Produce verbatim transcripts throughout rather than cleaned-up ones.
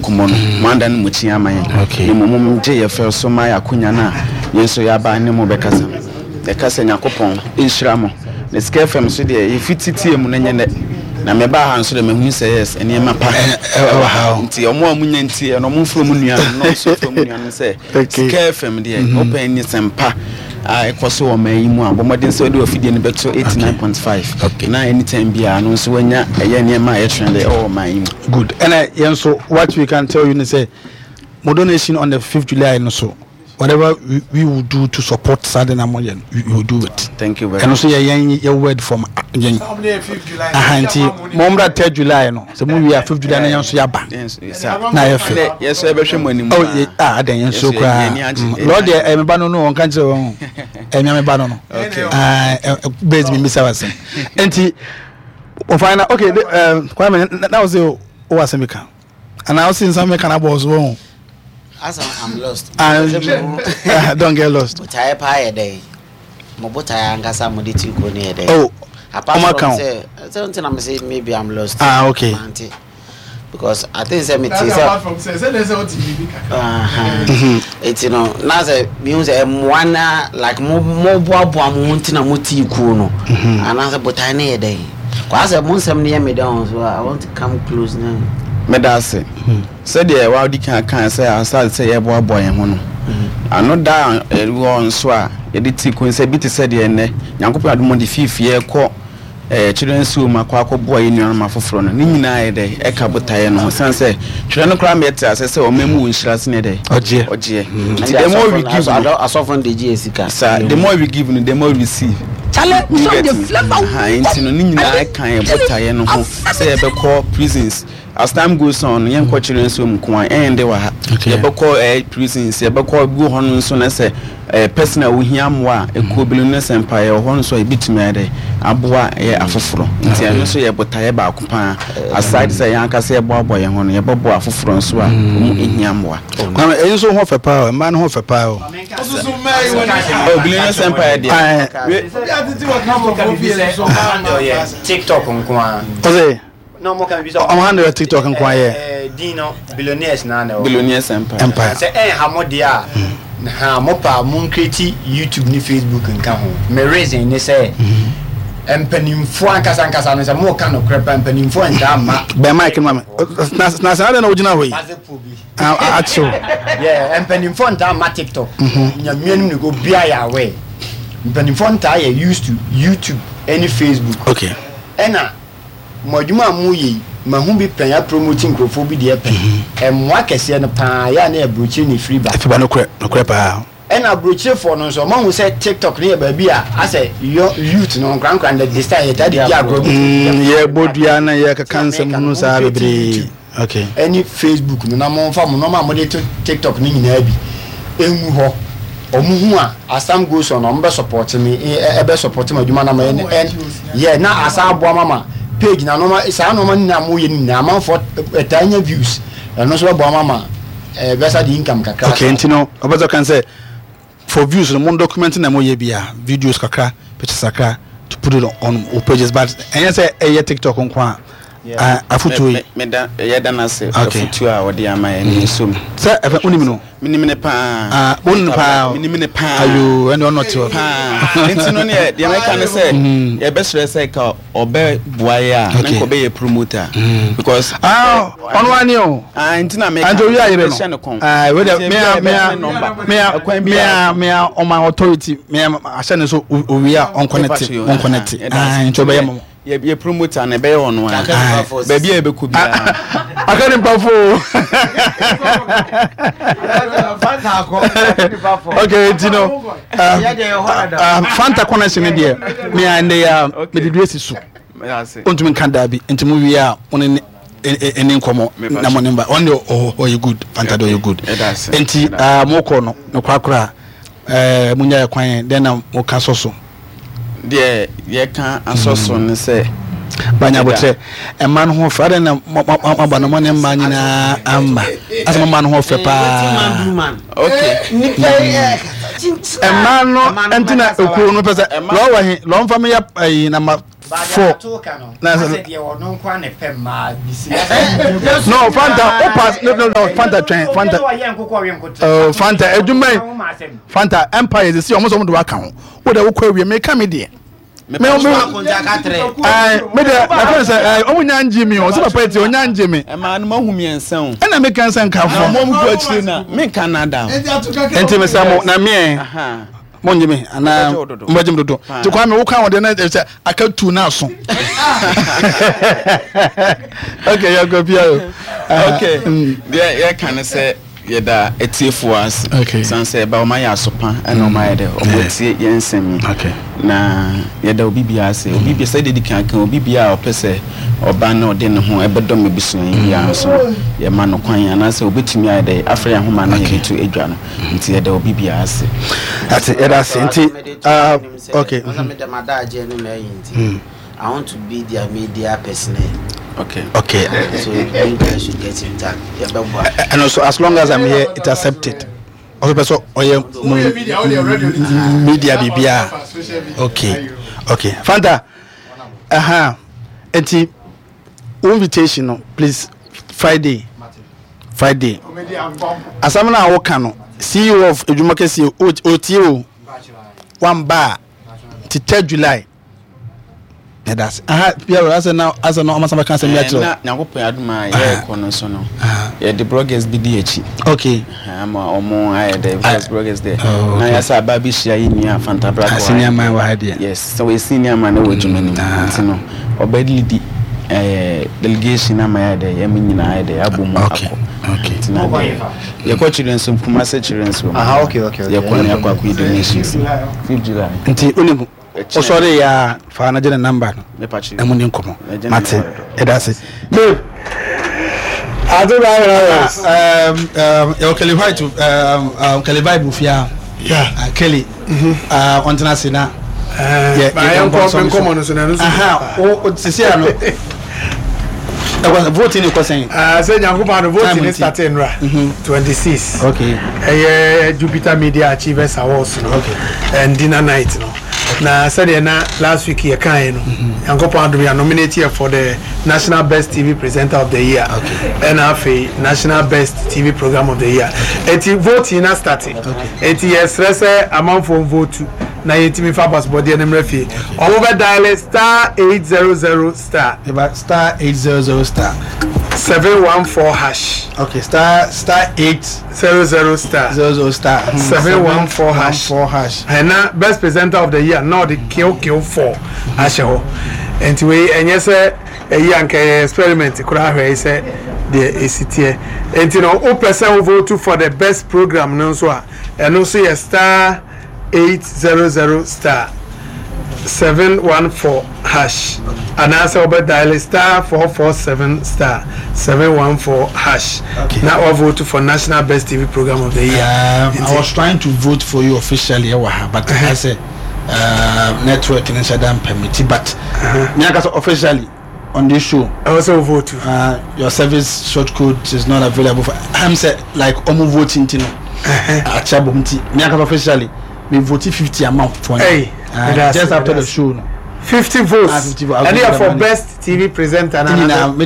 Nkɔmmɔ no mo anda no mo kyi ama yɛn. Okay. Na mmom mo gye yɛ fɛ so ma yɛ akonya no a yɛn nso yɛaba ne mo bɛkasa no, yɛka sɛ Nyankopɔn nhyira mo. Na Sika F M so deɛ, yɛfi titie mu no nyɛ nɛ na mebaa ha nso deɛ, mahunu sɛ yes, nneɛma pa ɛwɔ ha o. Nti ɔmo a munya ntie no, ɔmo mfrɛ mu nuanom na ɔmo nso mfrɛ mu nuanom sɛ Okay. Sika F M deɛ, wopɛ ne sɛm pa a ɛkɔ so wɔ ɔman yi mu a, bɔ mmɔden sɛ wode wafidie no bɛto eighty-nine point five Okay. na anytime biara no nso wanya ɛyɛ nneɛma a yɛtrend ɛwɔ ɔman yi mu. Good. Ɛna yɛn nso, what we can tell you ne sɛ mo donation on the fifth July no so, whatever we, we will do to support saa de na mo yɛ no, we, we will do it. Thank you very Ɛno much. nso yɛ yɛn yɛ word from uh, yɛn aha. Nti mo mmra third July no sɛ mo wie a, fifth July no yɛn nso yɛaba. Yɛn nso- saa. Na yɛ fɛ. Dɛ, yɛn nso yɛbɛhwɛ mo anim Oh, paa. ye, ah, adan yɛn nso Yɛn nso koraa. yɛn ani agye, Mm. yɛn ani Lord deɛ, agye. ɛyɛ me ba no no wɔn ka kyerɛ wɔn o, ɛyɛ me ba no no. Okay. Ah, ɛ- ɛ- base mi mbisa wa sɛm nti ɔfan na okay de, ɛɛ Kwame na na ɔsɛ o wɔ asɛm bi ka anaa ɔsɛ nsɛm mi ka na bɔ ɔso wɔn. As I'm, I'm lost. Ah, don't get lost. Botaeɛ paa yɛ dɛn? Mo botaeɛ ankasa mo de ti ko ne yɛ dɛn? Oh, apart ɔmo from aka o. sɛ sɛ nti na me say maybe I'm lost. Ah, okay. Mante. Because I think sɛ me te That's sɛ apart from sɛ sɛ de sɛ o ti biribi kakra. Eti no na sɛ mihu sɛ mmoa na like mo mo boaboa mo ho nti na mo tii kuo no, anaasɛ botaeɛ ne yɛ dɛn? Kwa sɛ mo nsɛm no yɛ me dɛn, so I want to come close now. Meda ase. Sɛdeɛ wadi kan kan sɛ asase sɛ yɛboaboa yɛn ho no ano da a ɛwɔ nso a yɛde ti ko sɛ bi te sɛ deɛ nnɛ Nyankopɔn adom de fiifie kɔ ɛɛ kyerɛ nsuo mu akɔ akɔboa yɛn nuanom afoforɔ no, ne nyinaa yɛ dɛ ɛka botaeɛ no ho, san sɛ twerɛ no koraa mɛ te ase sɛ ɔma mu wɔ nhyira sene dɛ ɔgyeɛ. Ɔgyeɛ. Nti the more we give no, asɔfo no de gye yɛ sika. Sa the more we give no, the more we receive. Chale, You some get the me? flavor. Aha, nti no ne nyinaa ka yɛ botaeɛ no ho sɛ yɛbɛkɔ prisons. As time goes on, yɛnkɔ kyerɛ nsuo mu nko a ɛyɛn de wɔ ha. Okay. Yɛbɛkɔ ɛɛ prisons, yɛbɛkɔ bi wɔ hɔ no nso na sɛ ɛɛ person a wohia mmoa a ekuo bi no ne sɛ mpaeɛ wɔ hɔ nso a, ebitumi ayɛ dɛ aboa ɛyɛ afoforɔ. Nti ɛno nso yɛ botaeɛ baako paa, aside sɛ yɛn ankasa yɛboaboa yɛn ho no, yɛbɛboa afoforɔ nso a wɔn ehia mmoa. Kwame, ɛyi nso ho fɛ paa o, mmaa no ho fɛ paa o. Osusu mmaa yi wɔ ne. Oh, Billionaires Empire deɛ. Ah, Obi atete wɔ Kristofo fie nso ɔbaa Handle yɛ TikTok nko ara. Ɔsɛ Na ɔmo ka bi sɛ ɔmo handle yɛ TikTok nko ara yɛ. Ɛɛ, din no Billionaires na na ɛwɔ. Billionaires Empire. Empire. Sɛ ɛnha mo deɛ a, ha mo pa mo ncreate YouTube ne Facebook nka ho. Me reason ne sɛ mpanimfoɔ ankasa ankasa no, sɛ mo ka nokorɛ pa, mpanimfoɔ ntaa mma. Bɛn mic no ma me na na sɛ adɛn na wogyina hɔ yi? Bazepo bi. Ah, ah, akyew. Yeah, mpanimfoɔ ntaa mma TikTok. Nyamea no mu obiara yɛ aware mpanimfoɔ ntaa yɛ used to YouTube ɛne Facebook. Okay ɛna mo adwuma a moyɛ yi, mahu bi pɛn apromote nkurɔfoɔ bi deɛ pɛn ɛmmoa kɛseɛ no paa yɛ a na yɛ aburokyire ne firi ba. Ɛfɛ ba, nokorɛ nokorɛ paa. Ɛna aburokyirefoɔ no nso, ɔmo ahu sɛ TikTok no yɛ baabi a asɛ yɔ youth no nkorankora no this time yɛtaa de di agorɔ bi. Mm, yɛbɔ dua na yɛkeka nsɛm hunu saa bebree, okay. Ɛne Facebook no na momfa mo nɔɔma a mode to TikTok no nyinaa bi ɛngu hɔ. Ɔmo hu a, as time goes on, ɔmo bɛ support me, ɛ ɛbɛ support me adwuma na ma yɛ ɛn yɛ na asa aboa ma ma page na nɔɔma saa nɔɔma no nyinaa mo yɛ no nyinaa, amanfoɔ ɛtaa nya views. Ɛno nso bɛboa ma ma ɛɛ bɛsa de income kakra. Okay, nti no ɔbɛ sɛ kan sɛ for views no, mo document na mo yɛ bia videos kakra, pictures kakra to put it on o pages, but ɛnyɛ sɛ ɛyɛ TikTok nko a. Ah, afotuo yi. Meda, yɛda no ase. Okay. Afotuo a wɔde ama yɛ ne nsom. Sɛ ɛfɛ wonim no? Menim ne paa. Ah, wonim no paa o. Menim ne paa. Ayo, ɛne ɔnɔ te hɔ. Paa. Nti no neɛ, deɛ mɛka ne sɛ yɛbɛsrɛ sɛ ka ɔbɛboa yɛ a na Okay. nka ɔbɛyɛ promoter because Ah, ɔno ani o. Ah, nti na meka Anti owi ayere no. hyɛ ne kɔn. Ah, wei de Nti mea ebi a mea yɛbɛma ne number. mea Ɛkwan bi mea a mea ɔma authority mea ahyɛ ne so, owi a ɔnconnect ɔnconnect. Ah, nti ɔbɛyɛ mɔmɔ. yɛ yɛ promoter na ɛbɛyɛ ɔno a Aka nipa fo. Baabi a yɛbɛkɔ biara. Aka nipa fo. Fanta akɔ. Okay, nti no um, Yɛ deɛ, yɛ hɔ dada. um, Fanta connection ne deɛ, mea ndɛ yɛ a mede dua si so. Meda ase. Ɔntumi nka daabi. Nti mo wie a, mo ne ne ɛne nkɔmmɔ na mo ne mba. Ɔno deɛ, ɔhɔ ɔyɛ good. Fanta deɛ, ɔyɛ good. Ɛda ase. Nti Ɛda ah, mokɔ no nokorakora ɛɛ munya yɛ kwan dɛn na moka sɔ so? Deɛ yɛka asɔ so ne sɛ banya abotire, mmaa no ho fɛ adɛn na mo- mo- mo- moaba no mo ne mmaa nyinaa amba asɛ mo mmaa no ho fɛ paa? Man. Okay. Nipa yi ɛ Mmaa no nti na ekuo no pɛ sɛ lɔɔ wɔ he lɔɔ nfa mi yɛ ɛyi na ma Four. Na sɛ no Fanta o pass no no no Fanta twɛn Fanta uh, Fanta adwuma yi Fanta Empire sisi ɔmo sɛ ɔmo de waka ho o de wokɔ awie meka mi deɛ me me ɛɛ me deɛ ɛfɛn sɛ ɛɛ ɔmo nya ngye mi o sɛ papa eti ɔnya ngye mi. Ɛmaa no ma hu mmiɛnsa o. Ɛna mi kan sɛ nka fɔ. Na ɔmo gu akyire na mi nka na da o. Nti mi sɛ mo na miɛ. Mo nye me anaa mbɛgye me dodo nti Kwame wo kan wɔde na sɛ aka tu na aso. Okay, yɛ kɔ pia o. Okay, deɛ yɛka ne sɛ yɛda atiefoɔ ase san sɛ ɛba ɔma yɛ asopa ɛna ɔma yɛ dɛ ɔmo tie yɛn nsɛm yi na yɛda obi biara ase obi bi sɛ deɛ di kan kan obi biara a ɔpɛ sɛ ɔba na ɔde ne ho ɛbɛdɔm abusua yi biara nso yɛma no kwan anaasɛ obetumi ayɛ dɛ afrɛ yɛn ahoma na yɛde to adwa no. Nti yɛda obi biara ase. Ate yɛda ase nti uh, okay. Mm. I want to be their media personnel. Okay. Okay. So you guys should get in touch. Yeah, and also as long as I'm here, it's accepted. Also, person oye media bibia. Okay. Okay. Fanta. Aha. Enti invitation no please Friday. Friday. Asɛm no a woka no C E O of adwuma kɛseɛ otie o wamba a nti third July ɛda ase aha Pierre asɛ na asɛ na ɔma sɛ bɛka asɛm bi akyerɛ na Nyankopɔn adom a yɛrekɔ no so no yɛde bloggers bi di akyi. Okay. Ama ɔmo ayɛ dɛ because bloggers dɛ na yɛsɛ aba bi hyia yɛ nua Fanta Black senior man wɔ ha deɛ. Yes, sɛ wɔyɛ senior man na wɔ adwuma no mu nti no ɔbɛlidi eh, delegation ama yɛ dɛ yɛn nyinaa yɛ dɛ abɔ mu akɔ. Okay. Nti na deɛ yɛkɔ children's home Kumasi children's home. Aha, okay, okay, okay. Yɛkɔ ne akɔ akɔ yi donations. Fifth July. Nti onim ɔsɔre ya fa na gye ne number no. Ɛmu ne nkɔmɔ. Mate ɛda ase. Babe. Ado ba um um yɛwɔ Kelly White um um Kelly Vibe ofia. Yeah. Uh, Kelly. Uh, ɔntena ase na. Yeah, yeah, nkɔmɔ no so na no so. Aha, o sisi ano. Voting ni kɔsɛn. Ah, sɛ Nyankopɔn ano voting ni started nra. twenty-six. Okay. Ɛyɛ Jupiter Media Achievers Awards no. Okay. And dinner night no. Na sɛdeɛ na last week yɛ kan no. Nyankopɔn adom yɛ nominate yɛ for the National Best T V Presenter of the Year. Okay. Ɛna afei National Best T V Program of the Year. Eti voting na started. Okay. Eti yɛsrɛ sɛ amanfoɔ vote na yɛntumi fa passport ne mmerɛ fie. Ɔmo bɛ dial star eight zero zero star. Eba star eight zero zero star. seven one four hash. Okay, star star eight zero zero star zero zero star seven one four hash. Four hash. Ɛna best presenter of the year na ɔde kill kill four ahyɛ hɔ. Nti wei ɛnyɛ sɛ ɛyi anka ɛyɛ experiment koraa ahwɛ yi sɛ deɛ esi teɛ. Nti no wopɛ sɛ wo vote for the best program no nso a ɛno nso yɛ star eight zero zero star seven one four hash anaasɛ wobɛ dial star four four seven star seven one four hash. Okay. Na wa vote for National Best T V Program of the Year. Um, I was trying to vote for you officially, but I said uh, network in Shadam permit, but uh-huh. officially on this show. I also vote. Uh, your service short code is not available for. I'm said like omo voting to no. Officially, we voted fifty amount for hey, uh, just after the show. No. fifty votes. Ah, fifty votes. And here for best T V presenter and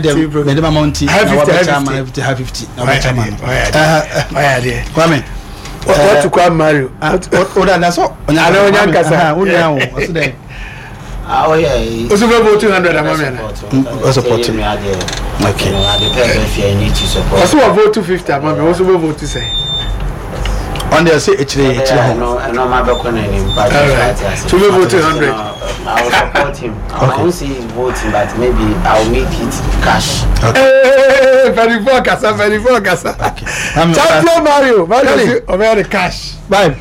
T V program. Have fifty, have fifty. Kwame. What to call Mario? Oh, that's all. I know Nyankasa. Oh yeah. Also vote two hundred amount. Also support. Okay. Also vote two fifty amount. Also vote two say. On the say H H. No, no, my back on him. All right. So we vote two hundred. I will support him. I won't say he's voting, but maybe I'll make it cash. Okay. Hey, very four kasa, very four kasa. Okay. Champion Mario, Mario, over the cash. Bye.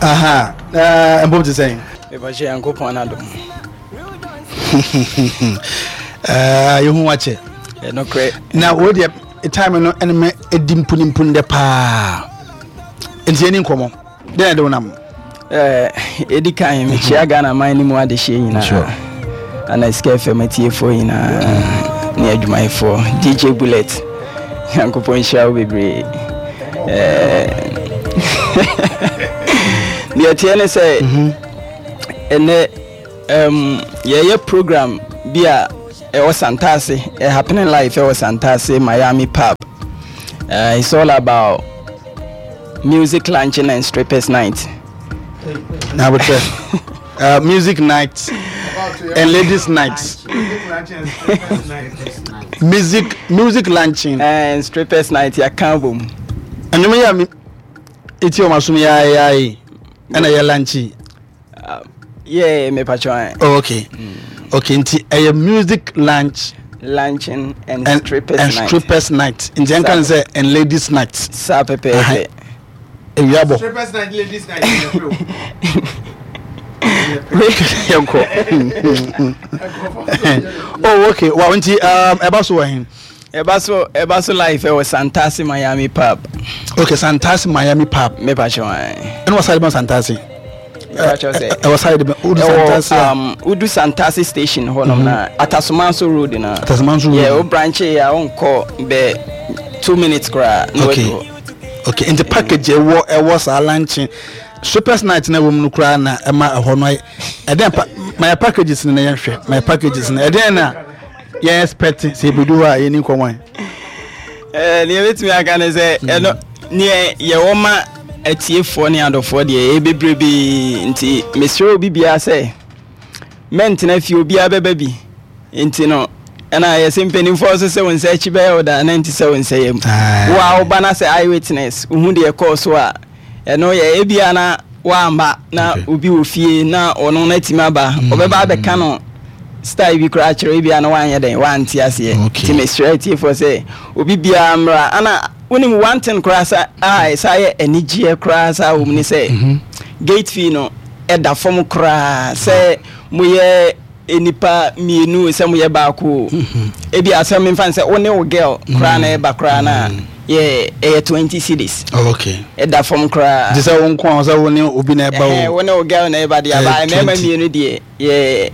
Aha. Uh, I'm to say. Uh, you watch it. No great. Now, what the time no enemy edimpun impun de pa. Nti eni nkomo. Den de wonam. Eh, edi kan me chia Ghana man ni mu ade hye nyina. Ana Sika F M T four nyina. Ni adwumayefo D J Bullet. Nyankopɔn hyira wo bebree. Eh. Ni etie ne sɛ ene Um, yɛyɛ program bi a ɛwɔ Santase, ɛ happening live ɛwɔ Santase Miami Pub. Uh, it's all about music luncheon and strippers night. Na abotire uh, music night and ladies night, music music luncheon and strippers night yɛaka bom. Ɛnum yɛ a mi eti wɔn asom yaayaay ɛna yɛ lunch. Uh, yeah, mepatwɛ. Oh, okay mm. okay nti ɛyɛ music lunch luncheon and, and strippers and night. Strippers night, nti ɛnka ne sɛ and ladies night. Saa pɛpɛɛpɛ. Ewia bɔ. Strippers night, ladies night. Yɛnkɔ. Oh, okay, wow, nti um, ɛba so wɔ hen? Ɛba so ɛba so live ɛwɔ Santase Miami Pub. Okay, Santase Miami Pub. Mepatwɛ. Ɛna wɔ side bɛn Santase? Mepatwɛ sɛ ɛwɔ side bɛn? Wodu Santase a, um, wodu Santase station hɔnom na Atasomanso road na. Atasomanso road. Yeah, wo branch yɛ a wonkɔ bɛ two minutes koraa na okay wadu hɔ. Okay, nti package ɛwɔ ɛwɔ saa luncheon strippers night na ɛwɔ mu no koraa na ɛma ɛhɔ no ayɛ ɛdɛn pa ma yɛ packages no na yɛnhwɛ ma yɛ packages no, ɛdɛn na yɛn expect sɛ ebedu hɔ a yɛni nkɔmɔ yi? Eh, deɛ bɛtumi aka ne sɛ ɛno neɛ yɛwɔ ma atiefoɔ ne adɔfoɔ deɛ ɛyɛ bebrebee, nti mesrɛ obi biara sɛ mɛntena fie, obiara bɛba bi. Nti no ɛna yɛsɛ mpanimfoɔ nso sɛ wo nsa akyi bɛyɛ wo da na nti sɛ wo nsa yam wo a woba na sɛ eye witness wohu deɛ ɛkɔɔ so a, ɛno yɛ ebia na woamba na Okay. obi wɔ fie na ɔno no atumi aba, ɔbɛba abɛka no style bi koraa kyerɛ ebia na woanyɛ dɛn woante aseɛ. Okay. Nti mesrɛ atiefoɔ sɛ obi biara mmra. Ana wonim one thing koraa sa a ɛsa yɛ anigyeɛ koraa saa wɔ mu ne sɛ gate fee no ɛda fam koraa, sɛ moyɛ nipa mmienu, sɛ moyɛ baako o, ebi asɛm memfa n sɛ wo ne wo girl koraa na ɛba koraa na yɛ ɛyɛ twenty cedis. Oh, okay. Ɛda fam koraa. Nti sɛ wo nko a, sɛ wo ne obi na ɛba Ɛhɛn, o, wo ne wo girl na ɛba deɛ aba. Ɛyɛ Mmarima twenty. mmienu deɛ yɛ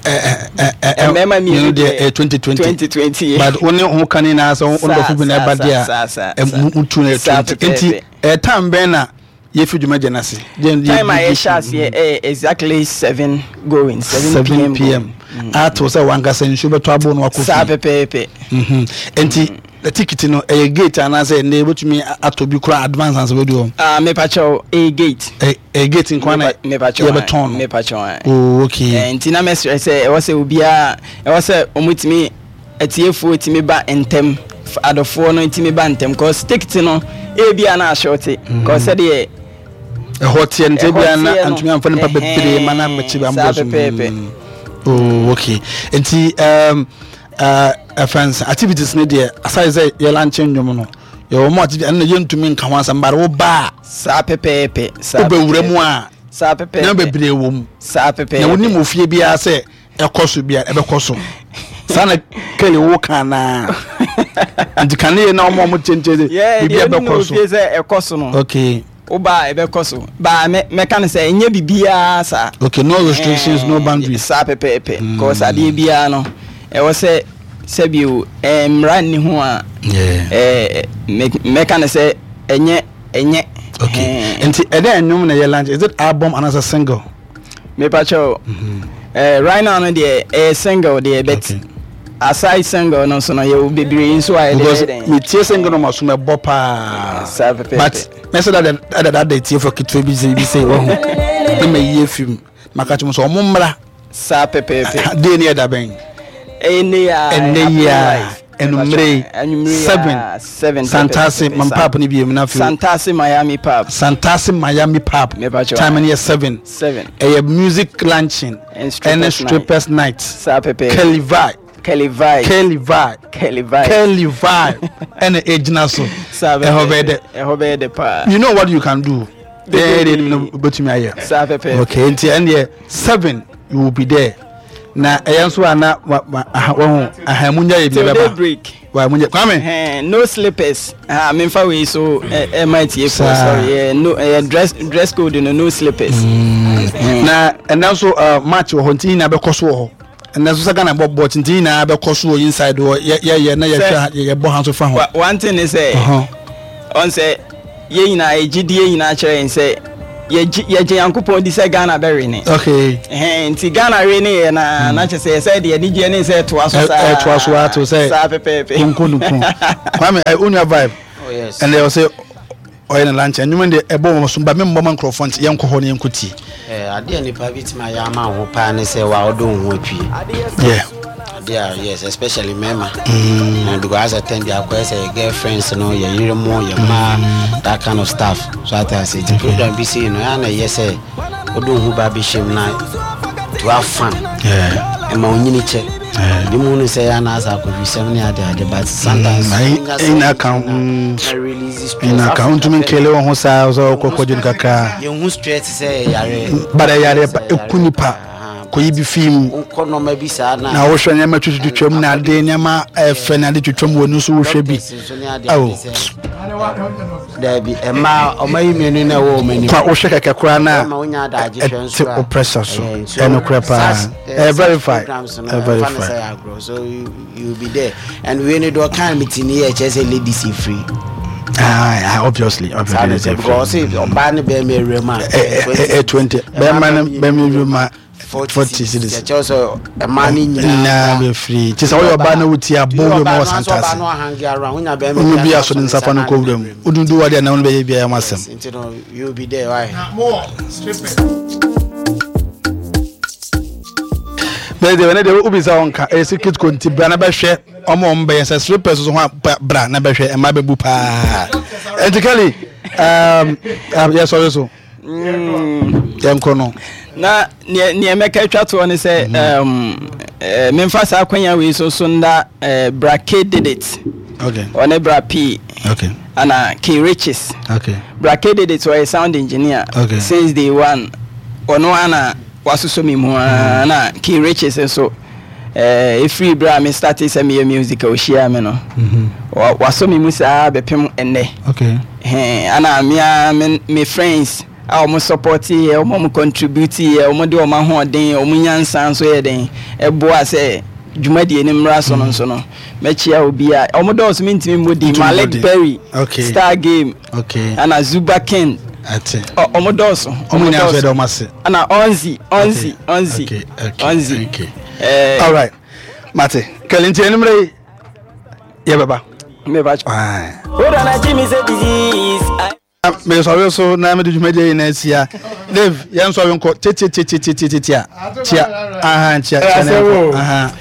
ɛ ɛ ɛ ɛ mmarima mmienu deɛ ɛyɛ twenty twenty. Twenty twenty. But wo ne ho ka ne nyinaa sɛ wo ne dɔfo bi na ɛba deɛ saa, saa, a, saa. ɛ mu mu tu no yɛ Saa twenty. Nti pɛpɛɛpɛ. ɛyɛ time bɛn na yɛfi dwumadie no ase? Yɛn- yɛ- Time a yɛ- yɛhyɛ aseɛ ɛyɛ exactly seven going, seven seven pm. P M ato sɛ wankasa nsuo bɛtɔ abo no wakɔ Saa fie. pɛpɛɛpɛ. Mhm. Nti the ticket no ɛyɛ gate anaasɛ ɛnɛ yɛbɛtumi atɔ bi koraa advance ansa bɛdu hɔ? Ah, mepakyɛw, ɛyɛ gate. Ɛ- ɛyɛ gate nko na Mepakyɛw. yɛbɛtɔn no? Mepakyɛw. Oh, okay. Eh, nti na mɛsrɛ sɛ ɛwɔ sɛ obiara, ɛwɔ sɛ ɔmotumi atiefoɔ tumi ba ntɛm, f- adɔfoɔ no tumi ba ntɛm, cause ticket no ebia na ahyɛwte, cause sɛdeɛ ɛhɔ teɛ no nti ɛhɔ ebia na teɛ no, antumi amfa nipa bebree ma na ɛhɛn, mmɛkyi ba saa mbɔ so. pɛpɛɛpɛ. Mm. Oh, okay, nti um, uh, ɛfɛns activities ne deɛ, aside sɛ yɛ launch nnwom no, yɛwɔ mo activity ɛno na yɛntumi nka ho asɛm bare wo ba Saa pɛpɛɛpɛ, a saa wobɛwura pɛpɛɛpɛ. mu a Saa pɛpɛɛpɛ. nneɛma bebree wɔ mu Saa pɛpɛɛpɛ. Na wonim ofie biara sɛ ɛkɔ so biara ɛbɛkɔ so saa na kele wo kan naa nti kane yɛ na ɔmo ɔmo kyɛnkyɛn Yeah, biribi deɛ onim na ɛbɛkɔ so. ofie sɛ ɛkɔ so no, Okay. woba a ɛbɛkɔ so baa mɛ mɛka no sɛ ɛnyɛ biribiara saa. Okay, no restrictions, no Eh, boundaries. Saa pɛpɛɛpɛ, cause adeɛ biara no ɛwɔ sɛ sɛbio eh, mmara nni ho a Yeah. eh, mɛ- mɛka no sɛ ɛnyɛ ɛnyɛ Okay, Eh, nti ɛdɛ nnwom na yɛ launch, is it album anaasɛ single? Mepakyɛw, eh, right now no deɛ ɛyɛ single deɛ, but Okay. aside single no nso no yɛwɔ bebree nso a yɛde Because bɛyɛ dɛn. metie single no ma so mɛbɔ paa. Saa pɛpɛɛpɛ. But mɛsɛ dada dada dada tie fɔ ketewa bi sɛ bi sɛ wɔho ne ma yie fim maka kyerɛ mo sɛ ɔmo mmra. Saa pɛpɛɛpɛ. Day ne yɛ da bɛn? Ɛyɛ ne a Ɛnɛ yi a enumere seven seven. Seven. Santase man pub ne bi mu na afei Santase Miami Pub. Santase Miami Pub. Mepakyɛw. Time no yɛ seven. Seven. Ɛyɛ music launching and strippers ɛne night. Strippers night. Saa pɛpɛɛpɛ. Kelly Vi. Kelly Vibe. Kelly Vi. Kelly Vibe. Kelly Vi ɛna egyina so. Saa ɛhɔ bɛyɛ dɛ. Ɛhɔ bɛyɛ dɛ paa. You know what you can do, ɛyɛ de no bɛtumi ayɛ. Saa pɛpɛɛpɛ. Okay, nti ɛn deɛ seven you will be there na ɛyɛ nso a na wa wa aha wɔn aha mu nya yɛ bi Till day bɛba break. Wa mu nya Kwame. Eh, no slippers. Ah, memfa wei so ɛ ɛma tie fo. Saa. Sorry, eh, no, eh, dress dress code no, no slippers. Mm. Na ɛnɛ nso uh, match wɔ hɔ nti nyinaa bɛkɔ so wɔ hɔ. Ɛnɛ nso sɛ Ghana bɔ bɔ nti nyinaa bɛkɔ so wɔ inside hɔ, yɛ yɛ yɛ na yɛhwɛ yɛ yɛbɔ ha nso fa ho. Wa- one thing is sɛ Ɔhɔ. ɔn sɛ yɛn nyinaa yɛgyidie nyinaa kyerɛ yɛn sɛ yɛgye yɛgye Nyankopɔn di sɛ Ghana bɛwe ne. Okay. Ɛhɛn, nti Ghana we ne yɛ na na kyerɛ sɛ yɛsɛ deɛ anigyeɛ ne sɛ ɛtoa so saa. Ɛtoa so ato sɛ saa pɛpɛɛpɛ. Konko no ko. Kwame, ɛ onua vibe. Oh yes. Ɛnna ɔsɛ ɔyɛ ne lunch. Ɛnwom deɛ ɛbɔ wɔn so ba me mbɔ ma nkurɔfoɔ nti yɛnkɔ hɔ ne yɛnkɔ tie. Eh, adeɛ a nipa bi tumi ayɛ ama wo ho paa ne sɛ wa ɔdɔ wo ho apue. Yeah. Adeɛ a yes, especially mmarima. Mm. Because as a time bi akɔyɛ sɛ yɛ girlfriends no, yɛ yere mo, yɛ mmaa, that kind of stuff. So ate ase nti program bi sei no, ɛyɛ na ɛyɛ sɛ wode wo ho ba bɛhyɛ mu na to have fun. Yeah. Ɛma wo nyini kyɛ. Bi mu no sɛ ɛyɛ anaasɛ akɔhwisɛm ne ade ade, but sometimes wonya sɛ Ɛna ka na release stress. ɛna ka ntumi nkele wɔn ho saa sɛ ɔkɔ kɔgye no kakra. Yɛnhu stress sɛ yare. Bada yare pa eku nipa kɔyi bi fi mu. Nkɔ nɔɔma bi saa na. Na wohwɛ nneɛma twitwitwam na ade nneɛma ɛfɛ na ade twitwam wɔ ni nso wohwɛ bi. Doctors nso ne ade Awo. ade sɛ daabi ɛmaa ɔma yi mmienu na ɛwɔ ɔma anim. Kwa wohwɛ kɛkɛ koraa na Ɛma wonya adagye hwɛ nso ɛte a wo pressure so. ɛyɛ nso Ɛno korɛ paa. such, eh, Ɛyɛ such verify. programs no, Ɛyɛ ɛmfa no verify. sɛ yɛ agorɔ, so you you be there and wei no deɛ ɔka me ti ni yɛ kyerɛ sɛ ladies yɛ free. Ah, ah, obviously, Saa obviously. na sɛ because ɔse ɔbaa ne bɛrima awura mu a Ɛ ɛ twenty. Bɛrima ne bɛrima ewura mu a forty cedis. Kyerɛ sɛ ɛmaa ne Nyinaa nyinaa bɛ free. Ti sɛ woyɛ ɔbaa na wotie abɔ wura mu wɔ ɔbaa Santase. no ahange around wonya bɛrima Onu bi biara aso ne nsa fa no kɔ wura mu. Odudu wa deɛ na wɔn bɛyɛ biara mo asɛm. Nti no you be there, why? More strippers. Bɛyɛ deɛ ɛnɛ deɛ wobisa wɔn ka ɛyɛ secret code nti bra na bɛhwɛ ɔmo a ɔmo bɛyɛ sɛ strippers so ho a bra- bra na bɛhwɛ ɛma bɛbu paa. Ɛnti Kelly, um, um, yɛsɔre so yɛnkɔ no. Na neɛ neɛ mɛka atwa toɔ ne sɛ um, eh, memfa saa akwanya wei so so nda eh, Bra K did it. Okay. Ɔne Bra P Okay. ana K Riches. Okay. Bra K did it, ɔyɛ sound engineer. Okay. Since day one ɔno ana wasosɔ me mu a na K Riches nso eh, ɛfiri berɛ a me starte sɛ meyɛ music a ɔhyia me no, wa- wasɔ me mu saa bɛpem ɛnnɛ. Okay. Hɛn, ana mea me, me friends a wɔn support yɛ, wɔn a wɔn contribute yɛ, wɔn de wɔn ahoɔden, wɔn nyansa nso yɛ den ɛboa sɛ dwumadie ne mmra so no nso no, mɛkyia obi a wɔn dɔɔso, mi ntumi mmɔ din. Ntumi mmɔ Malik din. Berry, Okay. Star Game, Okay. ana Zuba King. Ate. Ɔ ɔmo dɔɔso. Ɔmo nyinaa nso yɛda ɔmo ase. Ana Onzi Onzi Onzi. Okay. Okay. Onzi. Okay. Ɛɛ All right. Mate. Kelly, nti enumere yi yɛbɛba. Meba. Aye. Hold on, I Jimmy say disease. I Mesɔre so na mede dwumadie yi na asia. Dave, yɛn sɔre nkɔ tetietietie a kyia aha nkyia kyia na yɛnkɔ aha.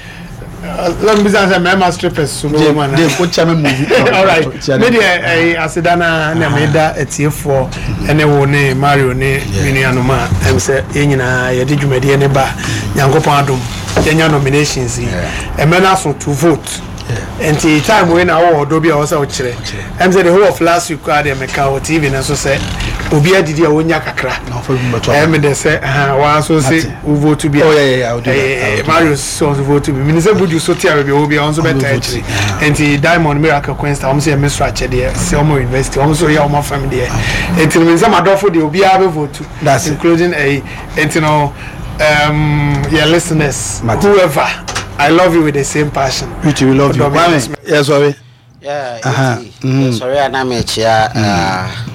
Let me say mmarima strippers so no Dave woman. Dave, wokyia me movie. All right. Kyia Me Dave. deɛ, ɛyi aseda na na meda atiefoɔ ɛne wo ne Mario ne me nuanom a ɛm sɛ yɛn nyinaa yɛde dwumadie ne ba. Nyankopɔn adom, yɛnya nominations yi, ɛmɛ no aso to vote, nti time wei na wowɔ ɔdɔ bi a wɔ sɛ wokyerɛ. Ɛm sɛ the whole of last week koraa deɛ, meka wɔ T V no so sɛ obi adidi a wɔnya kakra. Na ɔfa bi mbɛto aba. Ɛm de sɛ ɛhan waa so sɛ Mate. wo vote bi a Oh, yeah, yeah, yeah, I will do that. I ɛɛ, will do Mario sɛ ɔnso vote bi mene sɛ Buju so te a baabi a ɔwɔ bi a ɔnso bɛta vote, akyiri. yeah. Nti Diamond Miracle Queenstown, ɔmo sɛ yɛ mesoro akyɛdeɛ sɛ ɔmo university, ɔmo nso yɛ ɔmo afam deɛ, nti no nsɛm adɔfo deɛ obiara bɛ vote. That's it. Including ɛyi, nti no um, your listeners, Mate. whoever, I love you with the same passion. You too, we love you. Ɔdɔ me. Kwame, yɛsɔre. Yeah, Aha, nti mm. sɔre a na mekyia ah,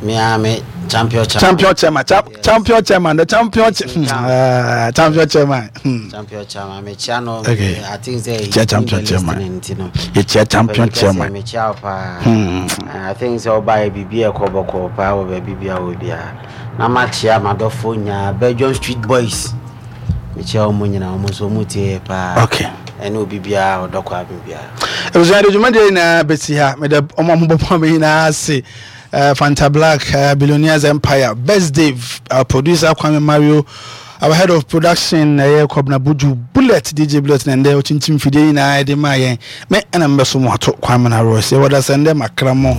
me a me champion champion. Champion chairman, cha- champion chairman, the champion ch- hmm, ah, champion chairman. Hmm. Champion chairman, mekyia no. Okay. I think sɛ Kyia champion chairman. nti no Yɛkyia champion chairman. Mekyia wo paa. Hmm. I think sɛ ɔbaayɛ biribi a ɛkɔ bɔkɔɔ paa wɔ baabi bia wɔ biara na makyia madɔfo nyinaa, Belgium Street Boys, mekyia wɔn nyinaa, wɔn nso wɔn tie paa. Okay. Ɛne obi biara ɔdɔ kɔ abi biara. Abusua de, dwumadie nyinaa bɛsi ha. Mede ɔmo a mobɔbɔ me nyinaa ase. uh, Fanta Black, uh, Billionaires Empire, Best Dave, our producer Kwame Mario, our head of production ɛyɛ uh, Kwabena Buju Bullet, D J Bullet, na ndɛ ɔkyinkyim fidie nyinaa ɛde maa yɛn. Me ɛna mbɛso mo ato Kwame na Royce yɛwɔda sɛ ndɛ makra mo.